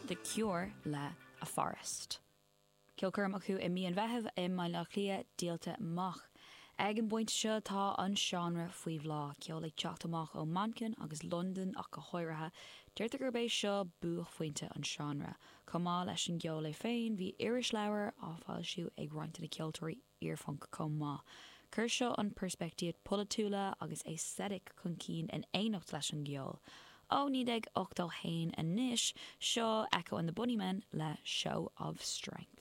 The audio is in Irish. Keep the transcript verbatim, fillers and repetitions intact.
The Cure le A Forest. Ceolchoirm acu i mí an Mheithimh i mBaile Átha Cliath díolta amach. Ag an bpointe seo tá an seánra faoi bhláth ceol ag teacht amach ó Manchain agus Londain ach go háirithe, deirtear gurb é seo buaicphointe an seánra. Chomh maith leis an gceol é féin, bhí irisleabhar á foilsiú ag roinnt na ceoltóirí iarphunk chomh maith. Chuir seo an peirspictíocht polaitiúil agus aesthetic chun cinn in éineacht leis an gceol. Ó naoi déag ochtó haon anois seo Echo and the Bunnymen le Show of Strength.